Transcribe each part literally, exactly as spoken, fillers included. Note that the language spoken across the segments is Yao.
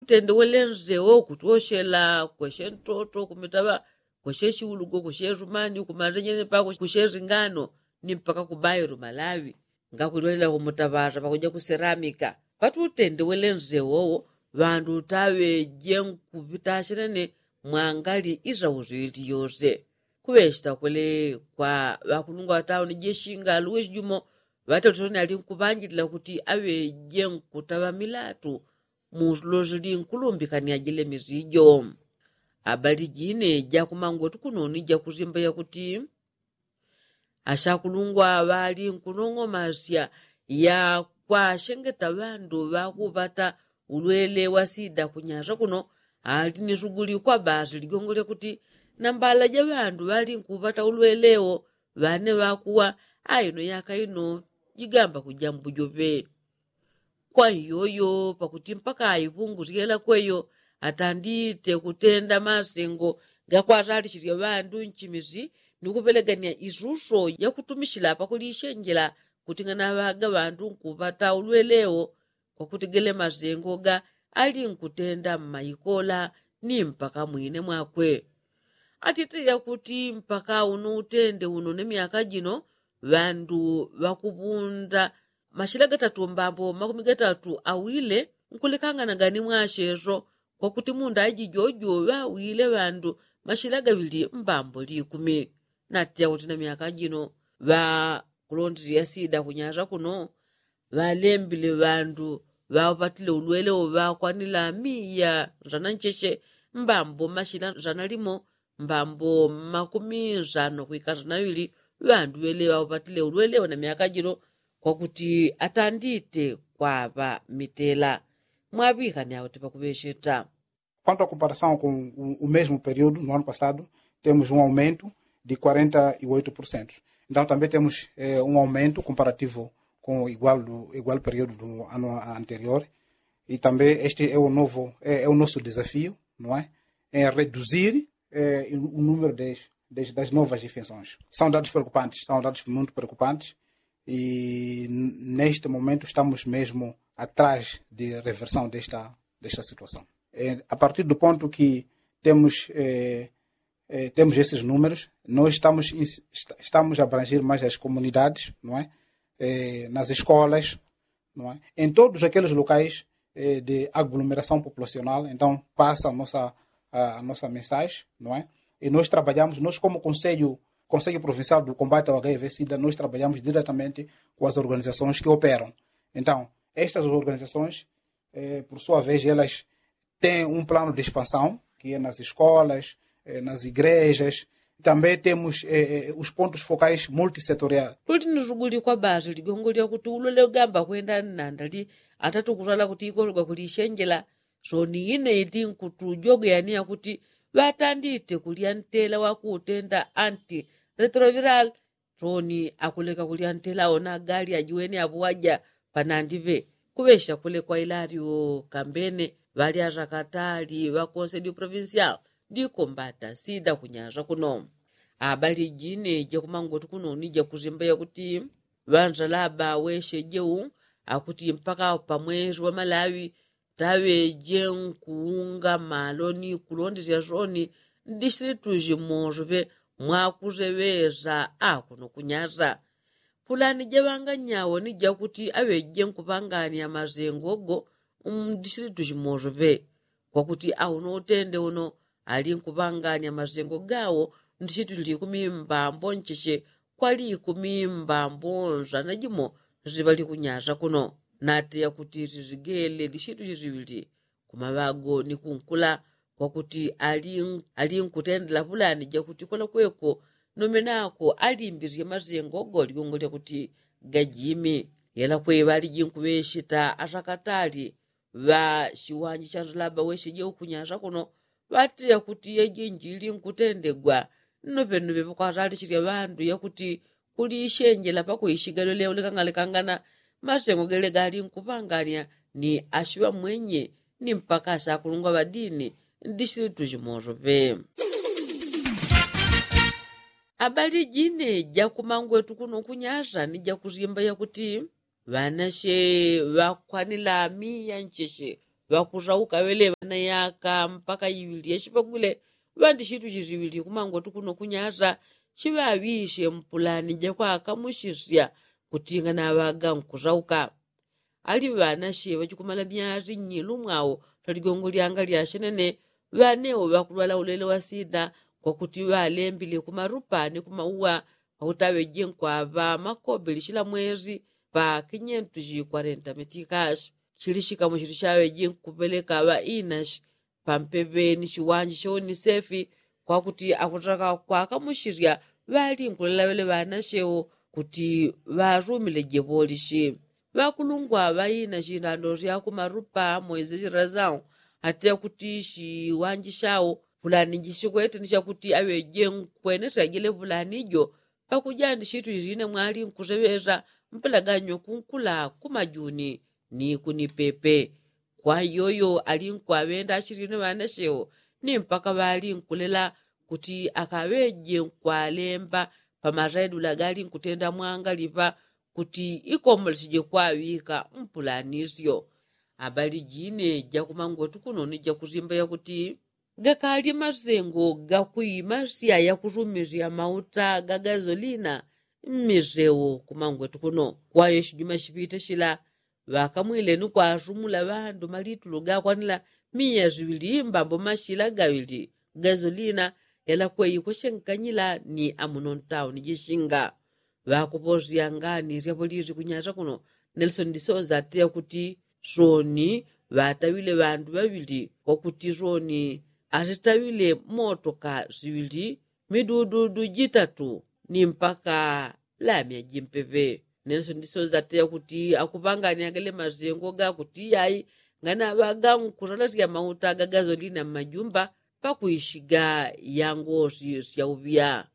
Tende wele nze wo kutwoshela kweshe ntoto kumitaŵa kweshe shiulugo kweshe rumani kumandenyene pako kweshe ringano ni mpaka kubairo malawi. Ngakulyolela kumutaŵaza pakuja kuseramika pati utende wele nze wowo ŵandu taŵeje nkupitashilene mwangali izauzili yose. Kuŵeshita kwele kwa ŵakulungwa ŵatauni jeshinga luwisi jumo ŵatalisoni ali nkuŵanjilila kuti aŵeje nkutaŵa milatu mulosi linkulumbikania jile mizijo. Abali jine jakumangwetu kunoni jakusimba yakuti ashakulungwa ŵali nkunong'omasya ya kwashengeta ŵandu ŵakuŵata ulwele wa sida kunyasa kuno ali ni suguli kwa basi ligongo lyakuti nambala ja ŵandu ŵali nkuŵata ulwele wo ŵane ŵakuwa aino yaka ino jigamba kuja mbujoŵe. Kwa iyoyo pakuti mpaka aipungusyela kweyo atandite kutenda masengo gakwatalisisya ŵandu nchimisi ni kuŵelegania isuso yakutumishila pakulishenjela kuting'ana ŵaga ŵandu nkuŵata ulwele wo. Kwakuti gele masengo ga ali nkutenda mmaikola ni mpaka mwine mwakwe atite yakuti mpaka uno utende uno ni myaka jino ŵandu ŵakuŵunda mashila gatatu mbambo makumi gatatu awile nkulekangana gani mwasheso. Kwakuti munda ajijojo ŵawile ŵandu mashila gaŵili mbambo likumi. Natya kuti na myaka jino ŵakulondile yasida kunyasa kuno ŵalembile ŵandu ŵaupatile ulwele wo ŵakwanila miya nzana ncheche mbambo mashila nzana limo mbambo makumi nzano kwika nzana ŵili. Ŵandu ŵele ŵaupatile ulwele wo na myaka jino kwakuti atandite kwaŵa mitela. Mwaŵikani auti pakuŵesheta. Quanto a comparação com o mesmo período no ano passado temos um aumento de quarenta e oito por cento. Então também temos um aumento comparativo com o igual período do ano anterior. E também este é o novo é o nosso desafio, não é? Em reduzir o número das novas infecções. São dados preocupantes são dados muito preocupantes. E neste momento estamos mesmo atrás de reversão desta situação. A partir do ponto que temos temos esses números nós estamos a abranger mais as comunidades, não é? Nas escolas, não é? Em todos aqueles locais de aglomeração populacional então passa a nossa a nossa mensagem, não é? E nós trabalhamos nós como conselho conselho provincial do combate ao h i v sida nós trabalhamos diretamente com as organizações que operam. Então estas organizações por sua vez elas têm um plano de expansão que é nas escolas, nas igrejas. Também temos os pontos focais multissetorial. Kuti ni suguli kwa basi ligongo lyakuti ulwele ugamba kwenda nandali atatukusala kuti ikosogwa kulishenjela. Soni ine iti nkutujogeya ni yakuti ŵatandite kulya ntela wakutenda anti retroviral. Soni akuleka kulya ntela ona gali ajiwene apuwaja panandiŵe. Kuŵesha kule kwa ilalyo kambene ŵalya ŵakatali ŵa konsedio provincial ndi kombata sida kunyasa kuno. Abali jine jakumangwetu kuno ni jakusimba yakuti ŵansalaba weshe jeu akuti mpaka pamwesi wa malawi taŵeje nkuunga malo ni kulondesya soni ndisilitu jimosoŵe mwakuseŵesa akuno kunyasa. Pulani jaŵanganyawo ni jakuti aŵeje nkuŵangania masengo go mdisilitu jimosoŵe kwakuti auno utende uno ali nkuŵangania masengo gawo ndisilitu likumi mbambo ncheche kwa likumi mbambo nzana jimo ziŵali kunyasa kuno. Nateya kuti sizigele lishitu shiziŵili kumaŵago ni kunkula kwakuti ali nkutendela pulani jakuti kwela kweko nomenako alimbisye masengo go ligongo lyakuti gajimi. Yela kweŵali jinkuŵeshita atakatali ŵa shiwanji sha nsalaba weshe jeu kunyasa kuno ŵateya kuti yejinji ili nkutendegwa. Nnoŵenoŵe ŵakwatalishisya ŵandu yakuti kulishenjela pakuishigalwele ulikangalekangana masengo gele gali nkuŵangania ni ashiŵamwenye ni mpaka ashakulungwa ŵadini ndisilitu jimosoŵe. Abali jine jakumangwetu kuno kunyasa ni jakusimba yakuti ŵanashe ŵakwanila miya ncheche ŵakusauka ŵeleŵa. na yaka mpaka iŵili yachipagwile ŵandi chitu chichiŵili kumangwetu kuno kunyasa chiŵaŵishe mpulani jakwakamushisya kutinga na ŵaga nkusauka. Ali ŵanache ŵachikumala myasi nyilu mwao lya ligongo lyanga lyachenene ŵanewo ŵakulwala ulele wa sida kwakuti ŵalembile kumarupa ni kumauwa. Kwakutaŵeje nkwaŵa makobe lichila mwezi pa kinyentu chikwarenta mitikashi chili chikamo chitu chaŵeje nkupeleka ŵainashi pampeŵe ni chiwanji cha unisefi kwakuti akutaka kwakamushirya ŵali nkulelawele ŵanachewo kuti ŵarumile jebolishi. Ŵakulungwa ŵaina chindando sya kumarupa moize chirazawo ate kuti chiwanji chawo fulani jichikwete ni chakuti aŵeje nkwenesya jele fulani jo pakuja ndi chitu chine mwali nkuseŵesa mpelaganyo kunkula kumajuni ni kunipepe. Kwa yoyo ali nkwaŵenda achilino ŵanachewo ni mpaka ŵali nkulela kuti akaŵeje nkwalemba pamaredula gali nkutenda mwangaliŵa kuti ikomboleche jekwaŵika mpulanisyo. Abali jine jakumangwetu kuno ni jakusimba yakuti gakali masengo gakuimasya yakusumisya mauta ga gazolina mmisewo kumangwetu kuno. Kwayo chijuma chipite chila ŵakamwile ni kwasumula ŵandu malitulu gakwanila miya siŵili mbambo machila gaŵili gazolina yalakweyi kwashenkanyila ni amuno ntauni jishinga. Ŵakuposyangani syapolisi kunyasa kuno nelson disoza ate kuti soni ŵataŵile ŵandu ŵaŵili kwakuti soni asitaŵile motoka siŵili midududu jitatu ni mpaka lamya jimpeŵe. Nelson disoza ate kuti akupangani agale masengo gakuti yai nganaŵaga nkusalasya mauta ga gazolina mmajumba pakuishiga yangosi syauŵya.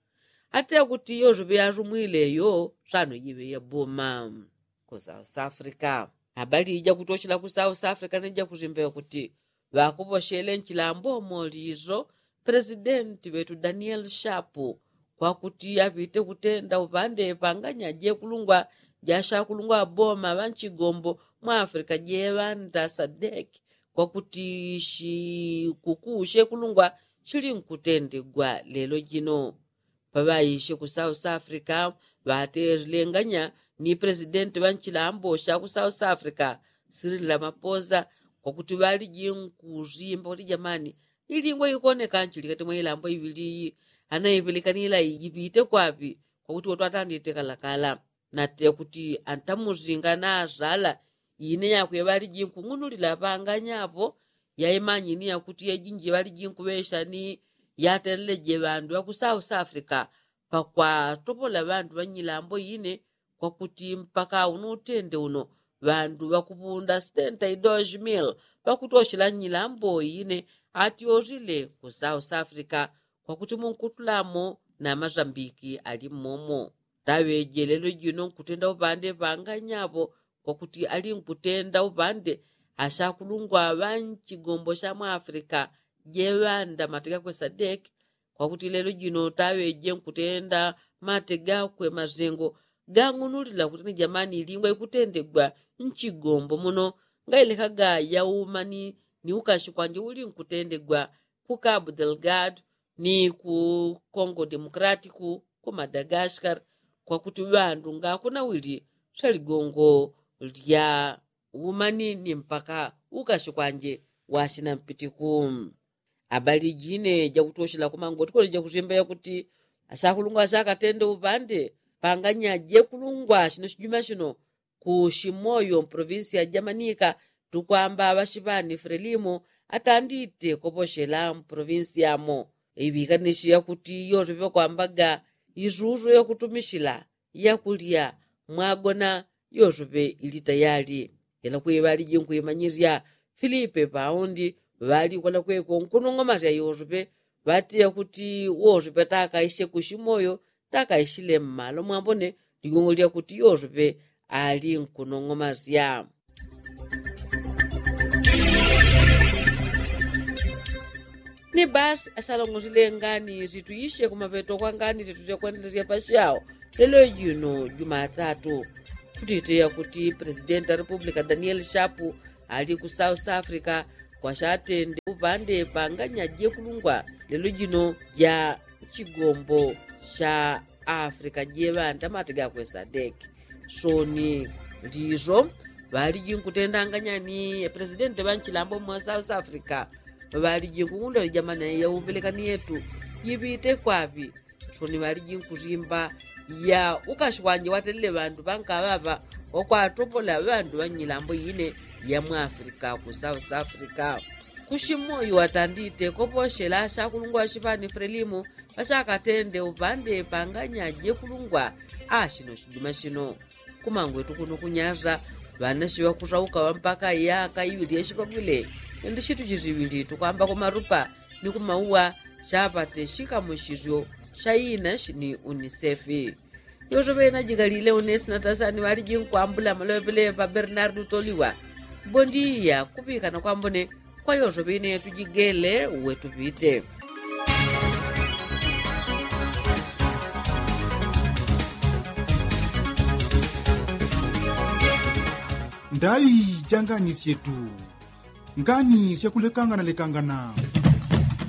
Ate kuti yoseŵe yasumwile yo sano jiŵe yaboma. Ku south africa abali jakutochela ku south africa ni jakusimba yakuti ŵakuposhele nchilambo moliso presidenti ŵetu daniel shapu kwakuti apite kutenda upande panganya jekulungwa jashakulungwa aboma ŵanchigombo mwa africa jeŵanda sadeki kwakuti shikukuu shekulungwa shili nkutendegwa lelo jino. Paŵaishe ku south africa ŵatesilenganya ni presidenti ŵanchilambo sha ku south africa sirili lamaposa kwakuti ŵaliji nkusimba kuti jamani ilingwa ikoneka nchili kati mwa ilambo iŵili iyi anaipelekanila ijipite kwaŵi kwakuti wotwatandite kalakala. Nate kuti antamusinga nasala ine yakwe ŵaliji nkung'unulila ŵanganyapo yaimanyini yakuti yejinji ŵaliji nkuŵesha ni yateleleje ŵandu ŵaku south africa pakwatopola ŵandu ŵanyilambo ine kwakuti mpaka uno utende uno ŵandu ŵakuŵunda setenta i dos mil ŵakutoshela nyilambo ine atyosile ku south africa kwakuti munkutulamo na masambiki ali mmomo. Taŵeje lelo jino nkutenda upande panganyapo kwakuti ali nkutenda upande ashakulungwa ŵanchigombo sha mwa africa jeŵanda mate gakwe sadeki kwakuti lelo jino taŵeje nkutenda mate gakwe masengo gang'unulila kuti ni jamani ilingwa ikutendegwa nchigombo muno ngailekaga yauma ni ukashi kwanje uli nkutendegwa ku cabo delgado ni ku congo democratico ku madagascar kwakuti ŵandu ngakunawili swaligongo lya umani ni mpaka ukashi kwanje washina mpitiku. Abali jine jakutoshela kumangoti kole jakusimba yakuti ashakulungwa ashakatende upande panganya jekulungwa shino shijuma shino ku shimoyo mprovinsi ya jamanika tukwamba ŵashipani frelimo atandite koposhela mprovinsi yamo iŵikanishe yakuti yose ŵakwambaga isusu yakutumishila yakulya mwagona yoseŵe ili tayali. Ila kwiŵaliji nkwimanyisya filipe paundi ŵalikola kweko nkunong'omasya yoseŵe ŵatiya kuti woseŵe takaisye kushimoyo takaishile mmalo mwambone ligongo lyakuti yoseŵe ali nkunong'omasya. Ni basi asalongosile ngani situishe kumapeto kwa ngani situsya kwendelesya pasyao lelo jino jumatatu. Kutiteya kuti presidenti wa republika daniel shapu ali ku south africa kwashatende pande panganya jekulungwa lelo jino ja chigombo cha afrika jeŵanta mati gakwe sadeki. Soni liso ŵaliji nkutendanganya ni presidenti ŵa nchilambo mwa south africa. Ŵaliji nkungundwa lijamani ya umbelekani yetu jiŵite kwaŵi. Soni ŵaliji nkusimba ya ukashi wanje watelele ŵandu ŵankaŵaŵa wakwatopola ŵandu ŵa nyilambo yine ya mwa africa ku south africa. Kushimoyo watandite koposhela shakulungwa shipani frelimu ŵashakatende upande panganya jekulungwa. Ashino shijuma shino kumangwetu kuno kunyasa ŵanashi ŵakusauka ŵampaka yaka iŵili yashipagwile. Ndi shitu chiziŵili tukwamba kumarupa ni kumauwa shapate shikamushizyo sha inashi ni unisefi. Yoso ŵena jikalile unesi na tasani ŵaliji nkwambula maloŵepeleŵe pa bernardu toliwa. Bondiya kuŵikana kwambone kwa yoso ŵene tujigele. Uwe tuŵite ndai janganisyetu. Ngani syakulekangana lekangana.